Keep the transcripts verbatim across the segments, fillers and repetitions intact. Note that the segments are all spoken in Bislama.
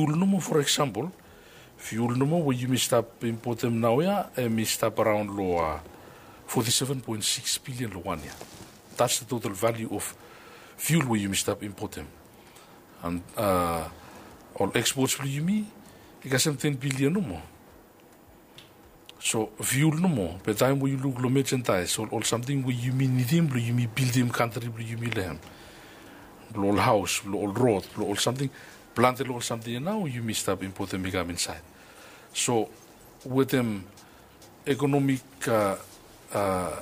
Fiul nomo, for example, fiul nomo we yumi stap impotem naoia, hemi stap araon lo, uh, forty-seven point six billion lo wan yia. That's the total value of fiul we yumi stap impotem. And, uh, ol exports blo yumi i kasem ten billion nomo. So fiul nomo, be taem we yu luk lo merchandise, ol, ol samting we yumi nidim blo yumi bildim kantri blo yumi lo hem, blo ol haos, blo ol rod, blo ol samting, plante lo ol samting ia nao yumi stap impotem i kam insaed. So wetem ekonomik, uh, uh,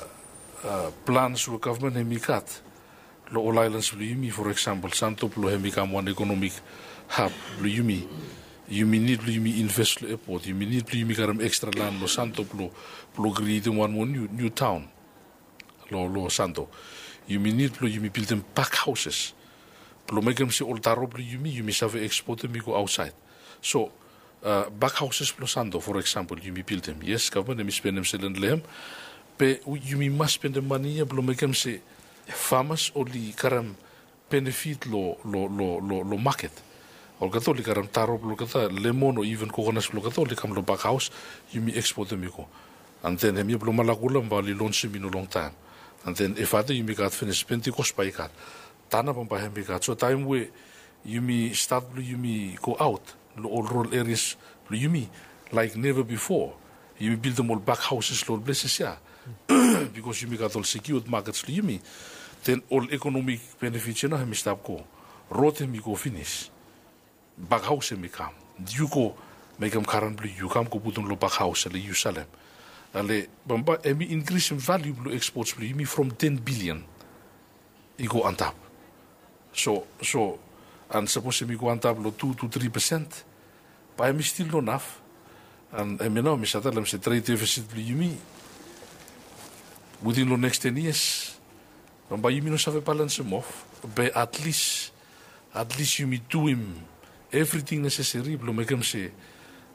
uh, plans we gavman hemi gat lo ol aelans blo yumi, for example, Santo, blo hemi kam wan ekonomik hab blo yumi. Yumi nid blo yumi invest lo epot, yumi nid blo yumi karem ekstra lan lo Santo blo, blo krietem wan moa niu, niu taon lo, lo Santo. Yumi nid blo yumi bildim bakhaoses blo mekem se ol taro blo yumi, yumi save ekspotem i go aotsaed. So, uh, bakhaoses blo Santo, for example, yumi bildim. Yes, gavman hemi spendem selen lo hem, be yumi mas spendem mane ia blo mekem se famas oli karem benefit lo, lo, lo, lo, lo maket. Olgeta oli karem taro blo olgeta, lemon o iven kokonas blo olgeta oli kam lo bakhaos, yumi ekspotem i go. And then hemia blo Malakula bae oli lonsem i no longtaem. And then Efate yumi gat finis, Pentikos bae i gat, Tana bambae hemi gat. So taem we yumi stat blo yumi go aot lo ol rural areas blo yumi, like never before, yumi bildim ol bakhaoses lo ol places ia, bikos yumi gat ol sekiud makets lo yumi, then ol ekonomik benefits ia nao hemi stap go. Rod hemi go finis, bakhaos hemi kam. Yu go mekem karan blo yu, kam go putum lo bakhaos, ale yu salem. Ale bambae hemi inkrisem valiu blo ekspots blo yumi from ten billion i go antap. So, so, and sapos hemi go antap lo tu to tri pesen, bae hemi stil no naf. And hemia nao mi save talem se tred defisit blo yumi witin lo neks ten yias, bambae yumi no save balensem of, be at least, at least yumi duim evriting neseseri blo mekem se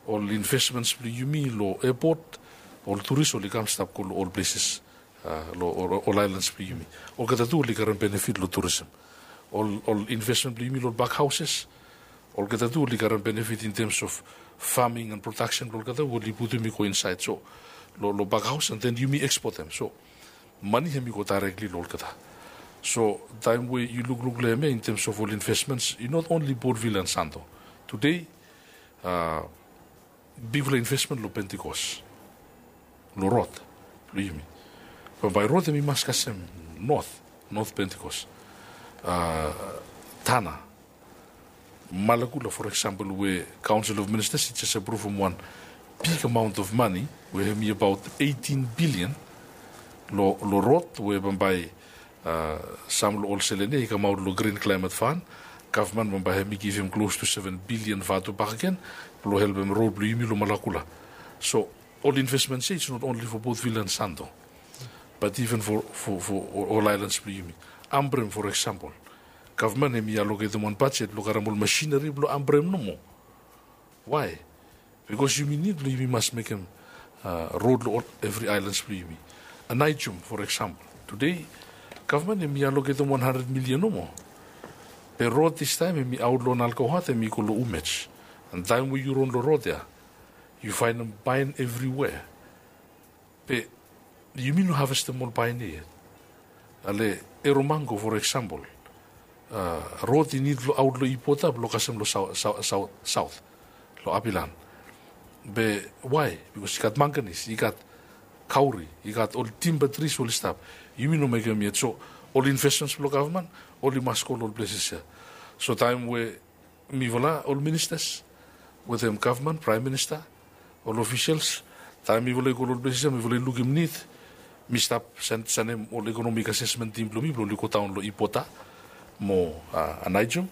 ol investments blo yumi lo epot, ol turis oli kam stap go lo ol places, uh, lo ol, ol aelans blo yumi. Olgeta tu oli karem benefit lo turism. Ol, ol investment blo yumi lo ol bakhaoses, olgeta tu oli karem benefit in terms of farming and production blo olgeta we oli putum i go insaed. So lo, lo bakhaos, and then yumi ekspotem. So mane hemi go daerekli lo olgeta. So taem we yu lukluk lo hemia in terms of ol investments, i not only Port Vila and Santo. Today, uh, bigfala investment lo Pentikos, lo rod blo yumi. Bambae rod hemi mas kasem North, North Pentikos, uh, Tana, Malakula, for example, we Council of Ministers i jes apruvum wan big amount of money we hemi abaot eighteen billion lo, lo rod, we bambae, uh, sam lo ol selen ia i kamaot lo Green Climate Fund. Gavman bambae hemi givim close to seven billion vatu bakegen blo helpem rod blo yumi lo Malakula. So ol investments ia, it's not only for Port Vila and Santo, but even for, for, for ol aelans blo yumi. Ambrym, for example, gavman hemi aloketem wan bajet blo karem ol machinery blo ambrym nomo. Why? Bikos yumi nid blo yumi mas mekem, uh, rod lo ol evri aelans blo yumi. Anaijum, for example, today gavman hemi aloketem wan handred milian nomo. Be rod distaem hemi aot lo Nalgaohat hemi go lo Umej. And taem we yu ron lo rod ia, yu faenem paen evriwea. Be yumi no havestem ol paen ia yet. Ale Eromango, for example, uh, rod i nid lo aot lo Ipota blo kasem lo saot, saot, saot lo Apilan. Be why? Bikos i gat manganese, i gat kauri, i gat ol timber trees oli stap. Yumi no mekem yet. So ol investments blo gavman oli mas go lo ol places ia. So taem we mifala ol ministers wetem gavman, praem minista, ol officials, taem mifala i go lo ol places ia, mifala i lukim nid, mi stap saen, saenem ol economic assessment team blo mi blo oli go daon lo Ipota mo, uh, Anaijum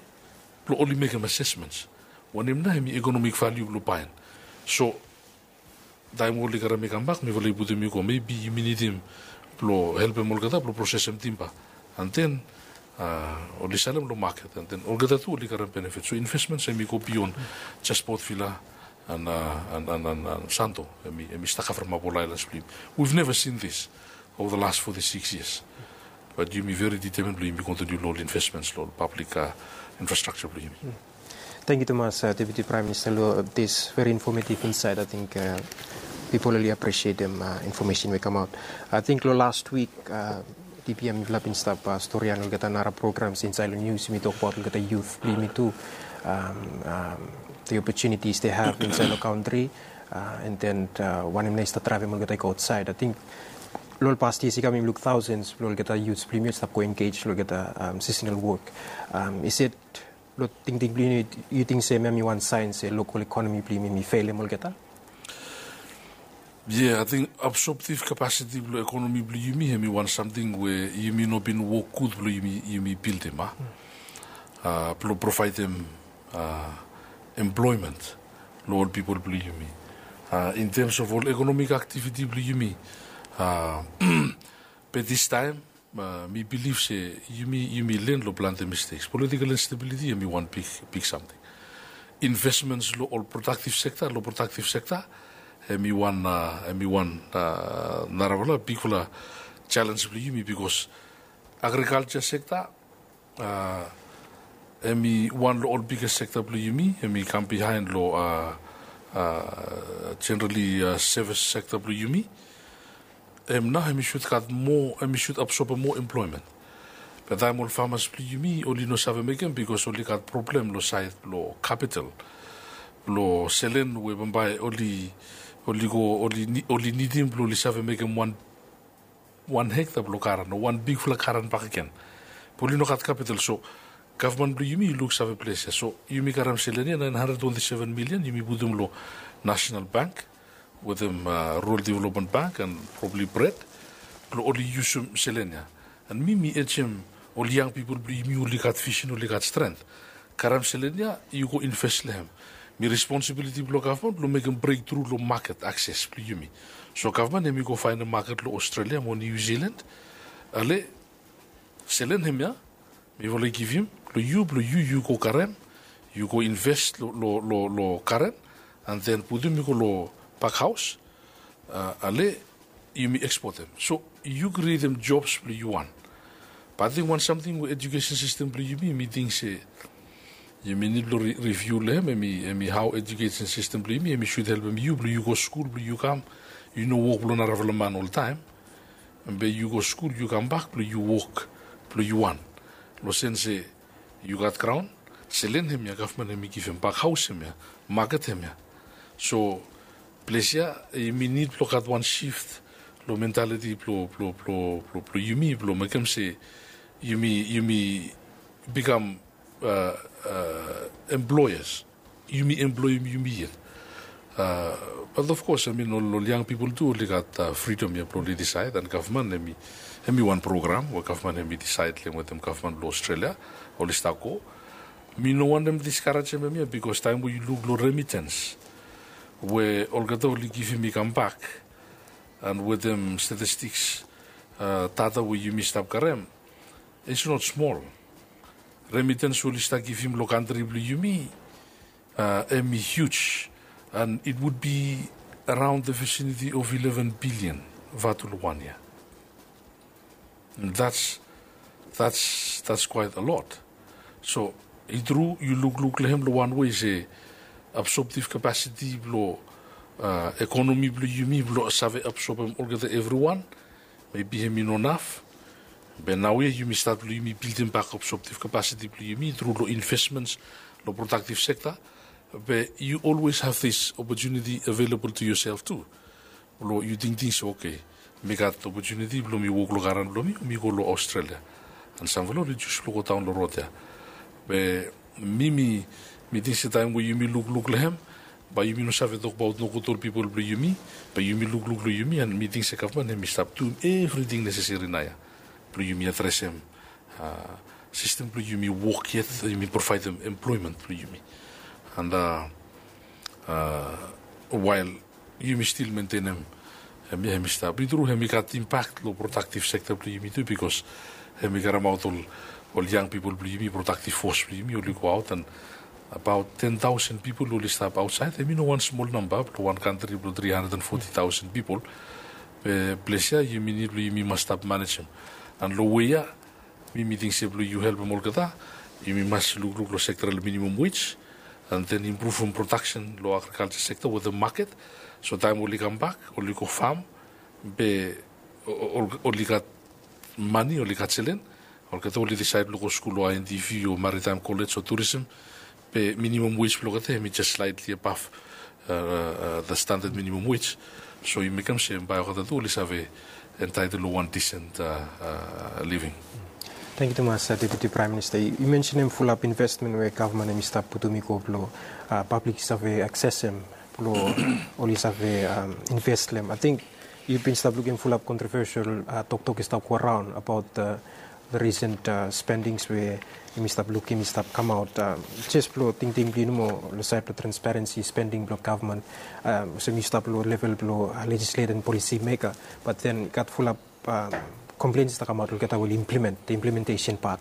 blo oli mekem assessments. Wanem nao hemi economic value blo paen. So taem we oli karem i kambak, mifala i putum i go, maybe yumi nidim blo helpem olgeta blo prosesem timba. And then, uh, oli salem lo maket, and then olgeta tu oli karem benefit. So investments hemi go beyond jes Port Vila and, uh, and, and, and, and Santo. Hemi, hemi stap kavremap ol aelans blo yumi. We've never seen this over the last forty-six years. But yumi very determined blo yumi kontiniu lo ol investments lo ol public, uh, infrastructure blo yumi. Tangkiu tumas, Deputi Praem Minista, long this very informative insight. Ating pipol oli apresietem infomesen we i kamaot. Ating long las wik, DPM mifala bin stap stori long olgeta nara programs insaed long nius, yumi tokbaot olgeta yut blong yumi tu, the opportunities they have insaed long kantri, and then wanem nao i stap draevem olgeta i go aotsaed. Ating long ol past years i kam yumi luk thousands blong olgeta yut blong yumi oli stap go engage long olgeta seasonal work. Is it, long tingting blong yu, yu ting se hemia hemi wan saen se local economy blong yumi hemi felem olgeta? Yeah, ating absorptive capacity blong economy blong yumi hemi wan samting we yumi no bin wok gud blong yumi, yumi bildim, a, blong provaedem employment long ol pipol blong yumi. In terms of ol economic activity blong yumi, be distaem mi bilif se yumi, yumi len long plante mistakes. Political instability hemi wan big, big samting. Investments long ol productive sector, long productive sector hemi wan, hemi wan narafala bigfala challenge blong yumi, bikos agriculture sector hemi wan long ol biggest sector blong yumi, hemi kam bihaen long generally service sector blong yumi. Hem nao hemi should gat moa, hemi should absorbem moa employment. Be taem ol farmers blong yumi oli no save mekem bikos oli gat problem long saed blong capital blong selen we bambae oli, oli go, oli nidim blong oli save mekem wan, wan hekta blong garan o wan bigfala garan bakegen. Be oli no gat capital, so gavman blong yumi i luksave ples ia. So yumi karem selen ia naen handred twenti seven milian, yumi putum long National Bank wetem Rural Development Bank and probably BRED blong oli yusum selen ia. And mi, mi ejem ol yang pipol blong yumi oli gat vision, oli gat strength. Karem selen ia, yu go invest long hem. Mi responsibility blong gavman blong mekem breakthrough long maket akses blong yumi. So gavman hemi go faenem maket long Australia mo New Zealand. Ale selen hemia mifala i givim long yu, blong yu, yu go karem, yu go invest long, long, long, long garan, and then putum i go long bakhaos. Ale yumi ekspotem. So yu krietem jobs blong yu wan. Be ating wan samting we education system blong yumi, mi ting se yumi nid blong review long hem, hemi, hemi hao education system blong yumi hemi should helpem yu blong yu go skul blong yu kam, yu no wok blong narafala man oltaem. Be yu go skul, yu kambak blong yu wok blong yu wan. Long sen se yu gat graon, selen hemia gavman hemi givim, bakhaos hemia, maket hemia. So ples ia yumi nid blong gat wan shift long mentality blong, blong, blong, blong, blong yumi blong mekem se yumi, yumi bikam employers. Yumi employem yumi yet. But of course, I mean, ol, ol yang pipol tu oli gat fridom ia blong oli disaed, and gavman hemi, hemi wan program we gavman hemi disaed long hem wetem gavman blong Australia oli stap go. Mi no wantem diskarajem hemia, bikos taem we yu luk long remittance we olgeta oli givim i kambak, and wetem statistics data we yumi stap karem, it's not small. Remittance we oli stap givim long kantri blong yumi hemi huge, and it would be around the vicinity of eleven billion vatu long wan yia. That's, that's, that's quite a lot. So i tru, yu lukluk long hem long wan wei se absorptive capacity blong economy blong yumi blong save absorbem olgeta evriwan, maybe hemi no naf. Be naoia yumi stat blong yumi bildim bak absorptive capacity blong yumi tru long investments long productive sector. Be you always have this opportunity available to yourself tu. Blong yu tingting se, okay, mi gat opportunity blong mi wok long garan blong mi, mi go long Australia. And samfala oli jus blong go daon long rod ia. Be mi, mi, mi ting se taem we yumi lukluk long hem, bae yumi no save tokbaot nogud ol pipol blong yumi. Bae yumi lukluk long yumi, and mi ting se gavman hemi stap duim evriting neseseri naoia blong yumi adresem sistem blong yumi wok yet, yumi provaedem employment blong yumi. And wael yumi stil mentenem hemia, hemi stap. I tru hemi gat impact long productive sector blong yumi tu, bikos hemi karemaot ol, ol yang pipol blong yumi, productive force blong yumi oli go aot, and abaot ten taosen pipol oli stap aotsaed. Hemi no wan smol namba blong wan kantri blong tri handred and foti taosen pipol. Be ples ia yumi nid blong yumi mas stap manejem. And long wei ia mi, mi ting se blong yu helpem olgeta, yumi mas lukluk long sektoral minimum wage. and then impruvum prodaksen long agrikalja sekta wetem maket. So taem oli kambak, oli go fam, be oli gat mane, oli gat selen, olgeta oli disaed blong go skul long I N D V o Maritime College o Tourism, be minimum wage blong olgeta hemi jes slightly above the standard minimum wage. So i mekem se bae olgeta tu oli save entitled long wan decent living. Tangkiu tumas, Deputi Praem Minista. Yu mensenem fulap investmen we gavman hemi stap putum i go blong pablik i save aksesem blong oli save invest long hem. Ating yu bin stap lukim fulap kontrovesel toktok i stap go raon abaot the recent spendings we yumi stap lukim i stap kamaot. Jes blong tingting blong yu nomo long saed blong transparensi spending blong gavman, olsem yu stap long level blong legislator and policy maker, but then i gat fulap kompleins i stap kamaot olgeta we oli implement, the implementation part.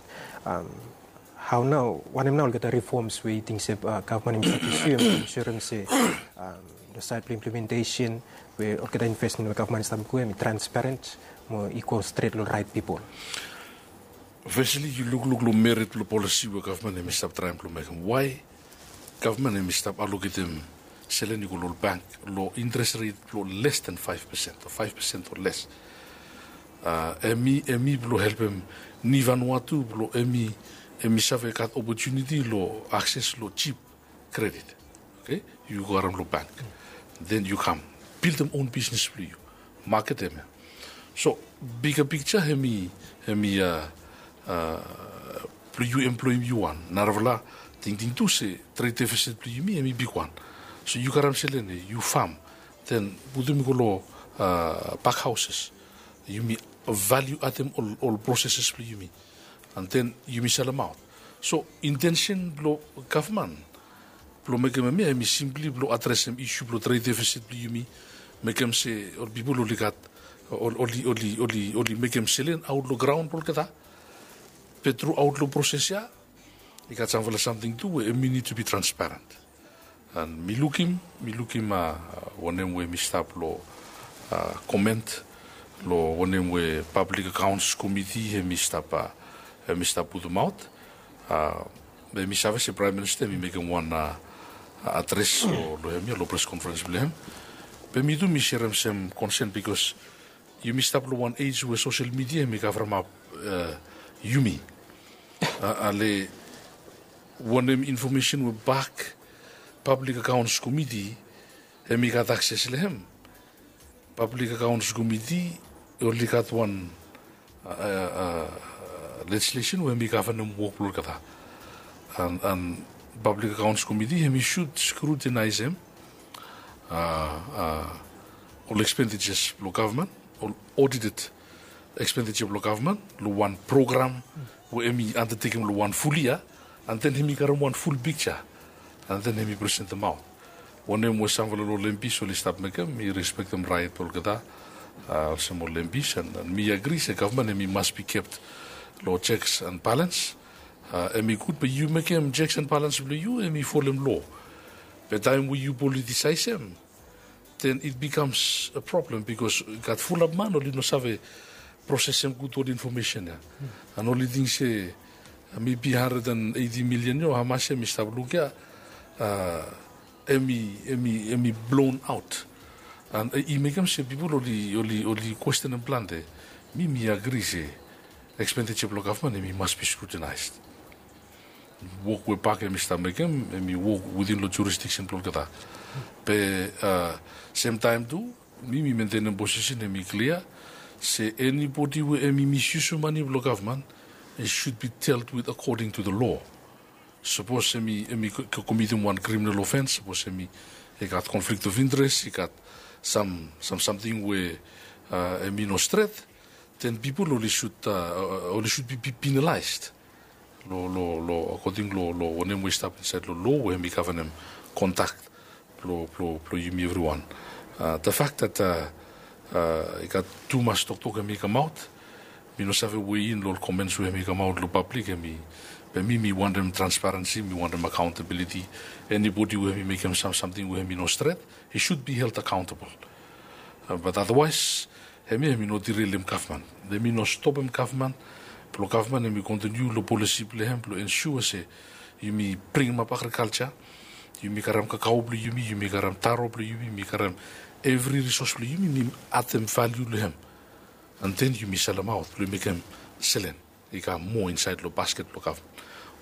Hao nao, wanem nao olgeta reforms we yu ting se gavman i stap pusuem blong ensurem se long saed blong implementation we olgeta investmen we gavman i stap mekem i transparent mo i go stret long raet pipol? Fesli, yu lukluk long merit blong polisi we gavman hemi stap traem blong mekem. Wae gavman hemi stap aloketem selen i go long ol bank long interes ret blong les than faef pesen o faef pesen o les? Hemi blong helpem ni Vanuatu blong hemi save gat opotuniti long akses long jip kredit. Oke, yu go harem long bank, then yu kam bildim own bisnes blong yu, maketem ya. So bika pikja hemi, hemi blong yu emploem yu wan. Narafala tingting tu se tred defisit blong yumi hemi bigwan. So yu karem selen ya, yu fam, then putum i go long pak haoses. Yumi valiu adem ol proseses blong yumi, and then yumi salemaot. So intensen blong gavman blong mekem hemia hemi simpli blong adresem isu blong tred defisit blong yumi, mekem se ol pipol oli gat, oli mekem selen aot long graon blong olgeta. Be truaot long proses ya i gat samfala samting tu we hemi nid tu bi transparent. And mi lukim, mi lukim wanem we hemi stap long koment long wanem we Pablik Akaons Komiti hemi stap, hemi stap putumaot. Be mi save se Praem Minista hemi mekem wan adres long hemia long pres konferens blong hem. Be mi tu mi serem sem konsen bikos yumi stap long wan ej we sosel midia hemi kavremap yumi. Ale wanem infomesen we bak Pablik Akaons Komiti hemi gat akses long hem? Pablik Akaons Komiti oli gat wan lejislesen we hemi gavenem wok blong olgeta. And Pablik Akaons Komiti hemi sud skrutinaesem ol ekspendijas blong gavman, ol odited ekspendija blong gavman long wan program we hemi andatekem long wan ful yia, and then hemi karem wan ful pikja, and then hemi presentemaot. Wanem we samfala long lembis oli stap mekem, mi respektem raet blong olgeta, olsem ol lembis, and mi agri se gavman hemi mas bi kept long jeks and balans. Hemi gud be yu mekem jeks and balans blong yu hemi folem loa. Be taem we yu politisaesem, then it becomes a problem bikos gat fulap man oli no save prosesem gud ol infomesen ya. And oli ting se mebi handred and eiti milian ya o hamas ya mi stap luk ya, hemi, hemi, hemi blown aot. And i mekem se pipol oli, oli, oli kwestenem plante. Mi, mi agri se ekspendija blong gavman hemi mas bi skrutinaes. Wok we bak hemi stap mekem hemi wok witin long jurisdiksen blong olgeta. Be semtaem tu mi, mi mentenem posisen hemi klia se enibodi we hemi misyusum mane blong gavman, it should be dealt with according to the law. Sapos hemi, hemi komitim wan kriminal ofens, sapos hemi i gat conflict of interest, i gat sam, sam samting we hemi no stret, then pipol oli sud, oli sud bi penalaes long, long, long akoding long, long wanem we i stap insaed long loa we hemi gavenem kondak blong, blong, blong yumi evriwan. The fact that i gat tumas toktok hemi kamaot, mi no save weigh in long ol comments we hemi kamaot long pablik, hemi, be mi, mi wantem transparensi, mi wantem accountability. Enibodi we hemi mekem sam, samting we hemi no stret, he should be held accountable. But otherwise hemia hemi no derailem gavman. Hemi no stopem gavman blong gavman hemi kontiniu long polisi blong hem blong ensua se yumi bringimap agrikalja Yumi karem kakao blong yumi, yumi karem taro blong yumi, yumi karem evri risos blong yumi, yumi adem valiu long hem. And then yumi selemaot blong mekem selen i kam moa insaed long basket blong gavman.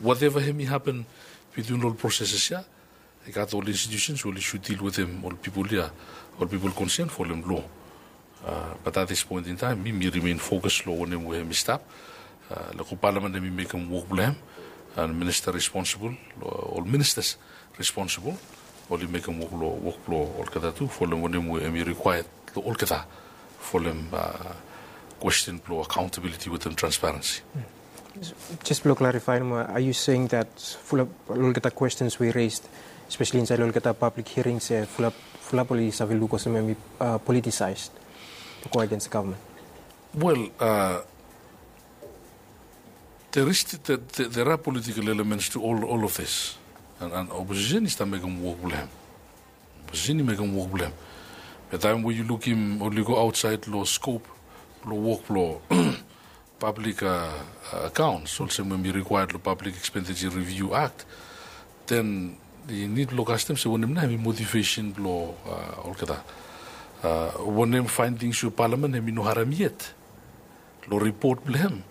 Whatever hemi hapen bitwin ol proseses ya, i gat ol institutions we oli should deal wetem ol pipol ya, ol pipol konsen folem loa. But at this point in time, mi mi remain fokus long wanem we hemi stap. Long go palamen hemi mekem wok blong hem, and minista responsibol, ol ministas responsibol oli mekem wok long wok blong olgeta tu folem wanem we hemi rikwaed long olgeta folem kwesten blong accountability wetem transparensi. Jes blong klarifai nomo, are you saying that fulap long olgeta kwestens we raised, especially insaed long olgeta public hearings, fulap fulap oli save luk olsem hemi politicized to go against the government? Wel, there is there are political elements to all all of this. And opposition i stap mekem wok blong hem. Opposition i mekem wok blong hem. Be taem we yu lukim oli go aotsaed long skop blong wok blong public accounts olsem we hemi rikwaed long Public Expenditure Review Act, then i nid blong kastem se wanem nao hemi motivation blong olgeta. Wanem faendings we palamen hemi no harem yet long ripot blong hem,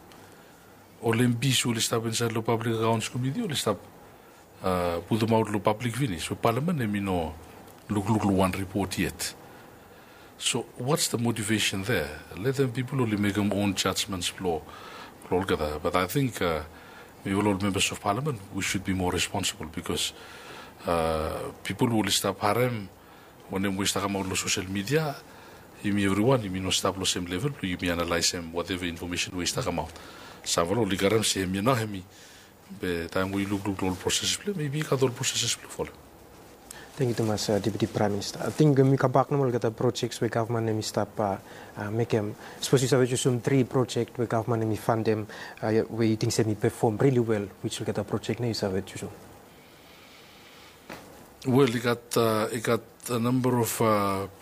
ol MPs we oli stap insaed long Public Accounts Committee oli stap putumaot long pablik finis we palamen hemi no lukluk long wan ripot yet. So what's the motivation there? Letem pipol oli mekem own judgements blong olgeta. But I think mi ol ol members of palamen, we should be more responsible, because pipol we oli stap harem wanem we i stap kamaot long sosel midia, yumi evriwan yumi no stap long sem level blong yumi analaesem whatever infomesen we i stap kamaot. Samfala oli karem se hemia nao hemi, be taem we yu lukluk long ol proses blong hem, maybe i gat ol proses blong folem. Tangkiu tumas, Deputi Praem Minista. Ating yumi kambak nomo long olgeta projek we gavman hemi stap mekem. Sapos yu save jusum tri projek we gavman hemi fandem we yu ting se hemi pefom rili wel, wij olgeta projek nao yu save jusum? Wel, i gat i gat a number of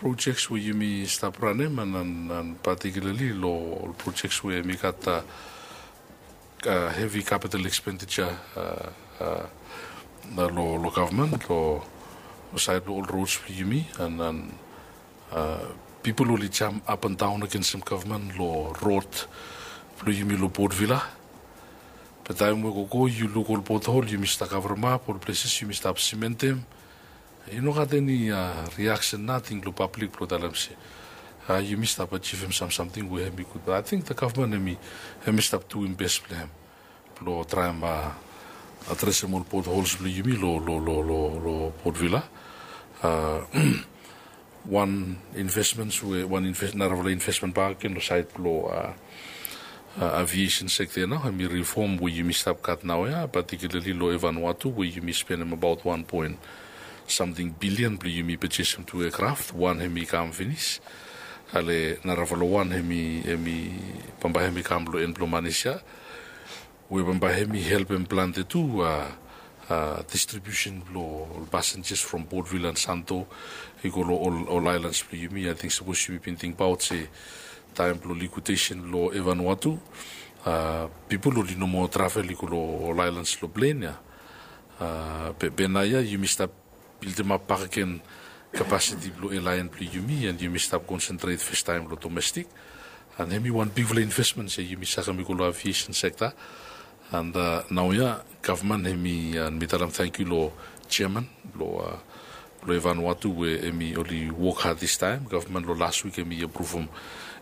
projek we yumi stap ranem, and particularly long ol projek we hemi gat hevi capital expenditure long gavman, long saed blong ol rods blong yumi, and pipol oli jam apandaon agensem gavman long rod blong yumi long Port Vila. Be taem we gogo yu luk ol pothol yumi stap kavremap, ol pleses yumi stap simentem, i no gat eni reaksen nating long pablik blong talem se yumi stap ajivim sam samting we hemi gud. But ating the gavman hemi stap duim bes blong hem blong traem adresem ol pothols blong yumi long Port Vila. Wan investments we wan narafala investment bak gen long saed blong aviation sekta nao hemi rifom we yumi stap gat naoia, particularly long Vanuatu we yumi spenem abaot wan poen samting bilian blong yumi pejesem tu eakraf. Wan hemi kam finis, ale narafala wan hemi bambae hemi kam long en blong manis ya, we bambae hemi helpem plante tu distribusen blong ol pasenjas from Port Vila and Santo i go long ol aelans blong yumi. Ating sapos yumi bin tingbaot se taem blong likwidesen blong Vanuatu, pipol oli no moa travel i go long ol aelans long plen ya. Be naoia yumi stap bildemap bakegen kapasiti blong aelaen blong yumi, and yumi stap konsentret fastaem long domestik. And hemi wan bigfala investments ya yumi sakem i go long aviation sekta. And naoia gavman hemi, and mi talem tangkiu long jeaman blong Vanuatu we hemi oli wok had distaem. Gavman long las wik hemi apruvum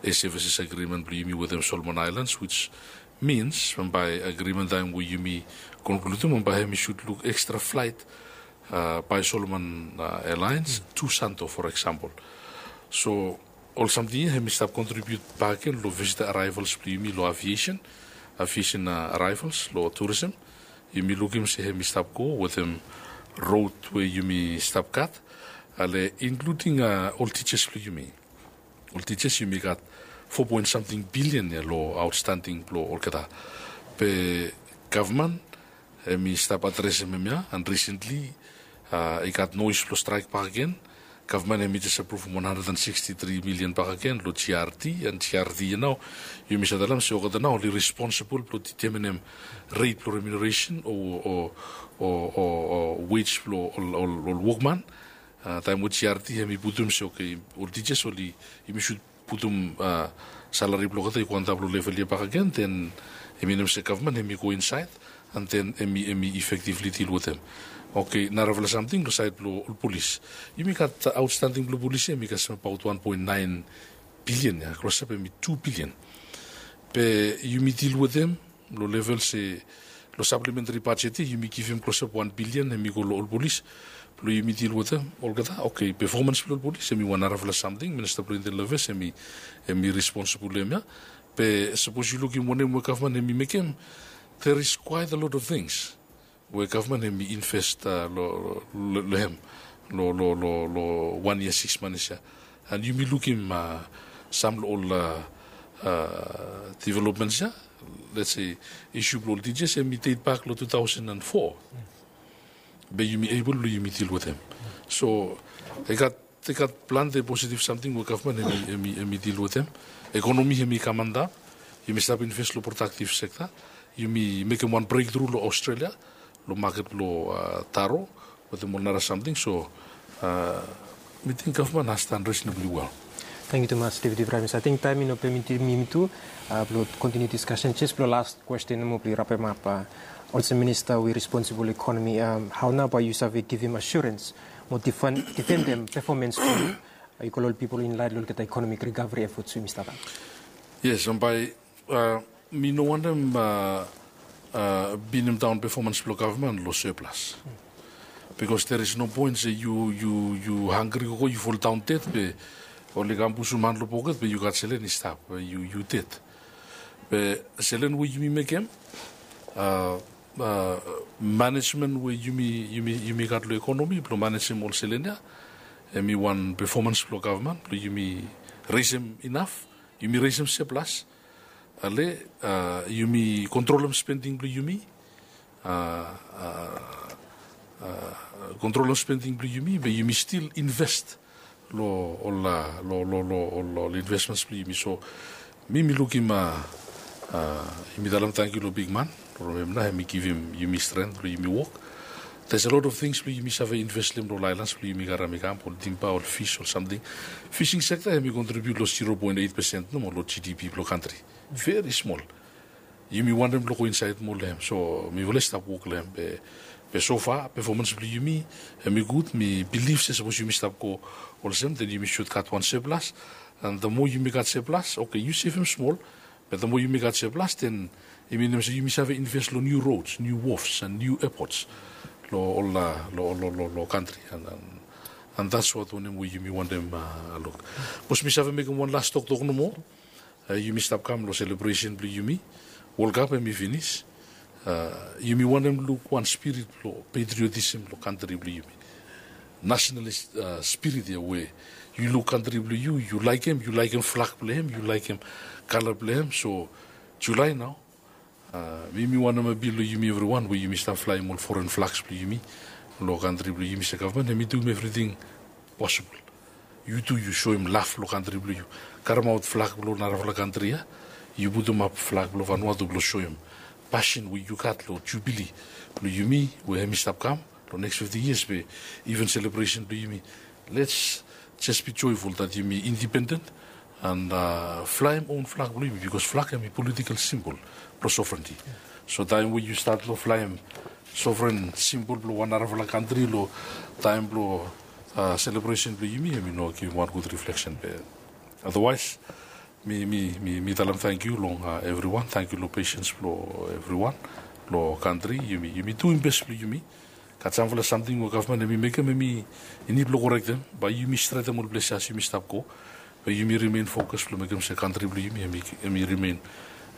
a services agreement blong yumi wetem Solomon Aelans, which means bambae agreement taem we yumi konkludim, bambae hemi sud luk ekstra flaet bae Solomon Aelans tu Santo, for example. So ol samting ya hemi stap kontribiut bakegen long visitor arrivals blong yumi long aviation, aviation arrivals long tourism. Yumi lukim se hemi stap go wetem rod we yumi stap gat, ale inkluding ol tijas blong yumi. Ol tijas yumi gat fo poen samting bilian ya long aotstanding blong olgeta. Be gavman hemi stap adresem hemia, and risentli i gat noes blong straek bakegen. Gavman hemi jes apruvum wan handred and siksti tri milian bakegen long GRT, and GRT ya nao yumi save talem se olgeta nao oli responsibol blong deteminem ret blong remuneration o, o, o, o, o wage blong ol, ol, ol wokman. Taem we GRT hemi putum se, oke, ol tijas oli, yumi sud putum salari blong olgeta i go antap long level ya bakegen, then hemi minim se gavman hemi go insaed, and then hemi, hemi effectively deal wetem. Oke, narafala samting long saed blong ol polis. Yumi gat outstanding blong polis ya, hemi kasem abaot wan poen naen bilian ya, klosap hemi tu bilian. Be yumi deal wetem long level se long supplementary budget ya, yumi givim klosap wan bilian hemi go long ol polis blong yumi deal wetem olgeta. Oke, performance blong ol polis hemi wan narafala samting, Minista blong Internal Affairs hemi, hemi responsibol long hem ya. Be sapos yu lukim wanem we gavman hemi mekem, there is quite a lot of things we gavman hemi invest long, long, long hem long, long, long, long wan yia sikis manis ya. And yumi lukim sam long ol developments ya. Let's say, isu blong ol tijas hemi date back long two thousand and four. Be yumi able blong yumi deal wetem. So i gat, i gat plante positive samting we gavman hemi, hemi, hemi deal wetem. Ekonomi hemi kam antap. Yumi stap invest long productive sector. Yumi mekem wan breakthrough long Australia long maket blong taro wetem ol nara samting. So mi ting gavman has done reasonably well. Tangkiu tumas, Deputy Prime Minister. Ating taem i no pemitim yumi tu blong kontiniu diskasen. Jes blong las kwesten nomo blong yu rapemap. Olsem minista we responsibol ekonomi, hao nao bae yu save givim asurens mo difendem pefomens blong yu i go long ol pipol inlaed long olgeta ekonomik rikaveri efot we yumi stap? Yes, bae mi no wantem pinim daon pefomens blong gavman long surplus. Bikos there is no point se yu, yu, yu hangri gogo, yu foldaon ded be oli kam pusum han long poket be yu gat selen i stap, yu, yu ded. Be selen we yumi mekem, manejmen we yumi, yumi, yumi gat long ekonomi blong manejem ol selen ya, hemi wan pefomens blong gavman blong yumi resem inaf, yumi resem surplus. Ale yumi kontrolem spending blong yumi, kontrolem spending blong yumi be yumi stil invest long ol, long, long, long ol investments blong yumi. So mi, mi lukim, yumi talem tangkiu long bigman long hem nao hemi givim yumi strength blong yumi wok. There's a lot of things blong yumi save invest long hem long ol aelans blong yumi karem i kam, ol timba, ol fis, ol samting. Fishing sector hemi contribute long zero point eight percent nomo long GDP blong kantri. Very small. Yumi wantem blong go insaed moa long hem. So mifala i stap wok long hem be, be so far pefomens blong yumi hemi gud. Mi bilif se sapos yumi stap go olsem, then yumi sud gat wan surplus. And the more yumi gat surplus, oke, yu sevem smol, be the more yumi gat surplus, then i minim se yumi save invest long niu roads, niu wharfs and niu airports long ol, long, long, long, long kantri. And, and, and that's what wanem we yumi wantem luk. Sapos mi save mekem wan las toktok nomo. Yumi stap kam long selebresen blong yumi. World Cup hemi finis. Yumi wantem luk wan spirit blong patriotism long kantri blong yumi. Nationalist spirit ya we yu luk kantri blong yu, yu laekem, yu laekem flag blong hem, yu laekem kala blong hem. So Julae nao, mi, mi wantem apil long yumi evriwan we yumi stap flaem ol foren flags blong yumi long kantri blong yumi, se gavman hemi duim evriting posibol. Yu tu yu soem laf long kantri blong yu. Karemaot flag blong narafala kantri ya. Yu putumap flag blong Vanuatu blong soem pasin we yu gat long jubili blong yumi we hemi stap kam long neks fifti yias, be iven selebresen blong yumi. Let's just be joyful that yumi independent and flaem own flag blong yumi, bikos flag hemi political simbol blong sovereignty. So taem we yu stat long flaem sovereign simbol blong wan narafala kantri long taem blong selebresen blong yumi, hemi no givim wan gud refleksen be. Otherwise, mi, mi, mi, mi talem tangkiu long evriwan. Tangkiu long pesens blong evriwan long kantri. Yumi, yumi duim bes blong yumi. Gat samfala samting we gavman hemi mekem, hemi nid blong korektem. Bae yumi stretem ol ples ya as yumi stap go. Be yumi remain fokus blong mekem se kantri blong yumi hemi, hemi remain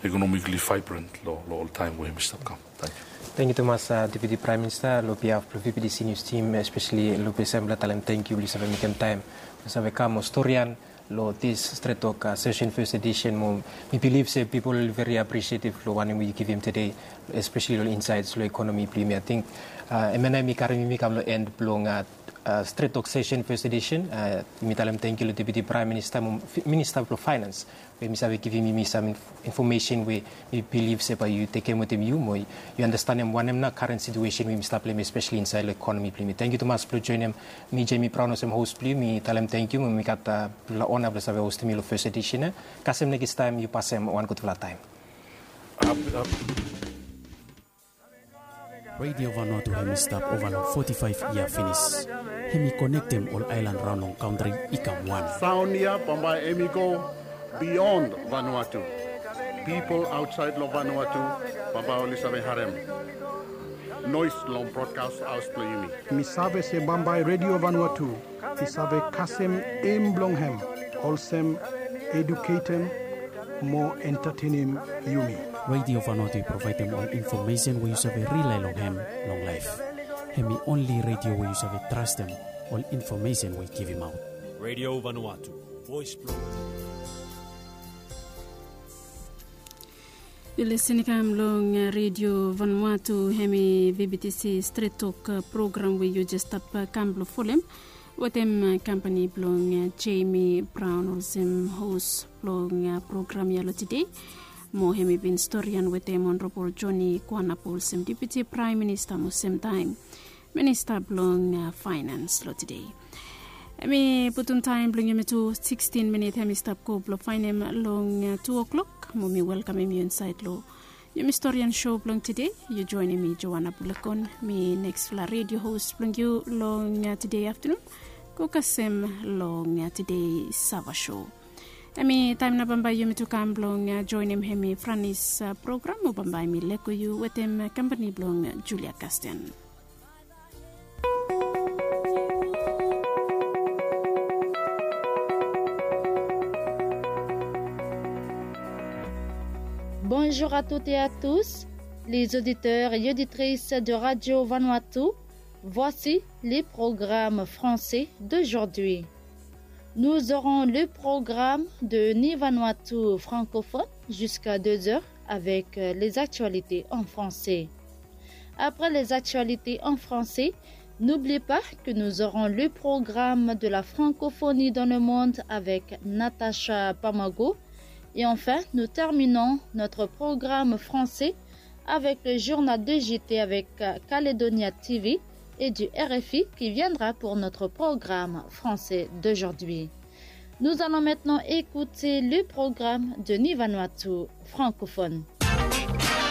economically vibrant long, long ol taem we hemi stap kam. Tangkiu. Tangkiu tumas, Deputy Prime Minister, long behalf blong VBTC News Team, especially long ples ya mifala talem tangkiu blong yu save mekem taem blong save kam mo storian long this Stret Tok session, first edition mo. Mi bilif se pipol oli very appreciative long wanem we yu givim tede, especially long insights long ekonomi blong yumi. Ating hemia nao hemi karem yumi kam long end blong Stret Tok Sesen Fes Edisen. Mi talem tangkiu long Deputi Praem Minista mo Minista blong Faenans we mi save givim yumi sam infomesen we mi bilif se bae yu tekem wetem yu mo yu andastanem wanem nao karen situesen we yumi stap long hem, espeseli insaed long ekonomi blong yumi. Tangkiu tumas blong joenem mi, Jemi Braon, olsem hos blong yu. Mi talem tangkiu mo mi gat blong ona blong save hostem yu long Fes Edisen ya. Kasem nekis taem, yu pasem wan gudfala taem. Redio Vanuatu hem i stap ova long foti faef yia finis. Hem i konektem ol aelan raon long kantri i kam wan. Saon ya bambae hem i go bion Vanuatu. Pipol aotsaed long Vanuatu bambae oli save harem noes long brodkas haos blong yumi. Mi save se bambae Redio Vanuatu i save kasem em blong hem olsem eduketem mo entatenem yumi. Redio Vanuatu i provaedem ol infomesen we yu save rilae long hem long laef. Hem i onli redio we yu save trastem ol infomesen we i givimaot. Redio Vanuatu, voes blong. Yu lisin i kam long Redio Vanuatu, hem i V B T C Stret Tok program we yu jes stap kam blong folem wetem kampani blong Jemi Braon olsem hos blong program ya long tede. Mo hem i bin storian wetem Onrabol Joni Kuanapu olsem Deputi Praem Minista mo semtaem Minista blong Faenans long tede. Hem i putum taem blong yumi tu sikstin minit hem i stap go blong faenem long tu oklok. Mo mi welkamem yu insaed long yumi storian so blong tede. Yu joenem mi, Joana Bulakon, mi neksfala redio hos blong yu long tede aftanun, go kasem long tede Sava so. Hem i taem nao bambae yumi tu kam blong joenem hem i Franis program, mo bambae mi lego yu wetem kampani blong Julia Kasten. Bonjour à toutes et à tous, les auditeurs et auditrices de Radio Vanuatu. Voici les programmes français d'aujourd'hui. Nous aurons le programme de Ni Vanuatu francophone jusqu'à deux heures avec les actualités en français. Après les actualités en français, n'oublie pas que nous aurons le programme de la francophonie dans le monde avec Natacha Pamago. Et enfin, nous terminons notre programme français avec le journal de J T avec Calédonia T V et du R F I qui viendra pour notre programme français d'aujourd'hui. Nous allons maintenant écouter le programme de Ni Vanuatu francophone.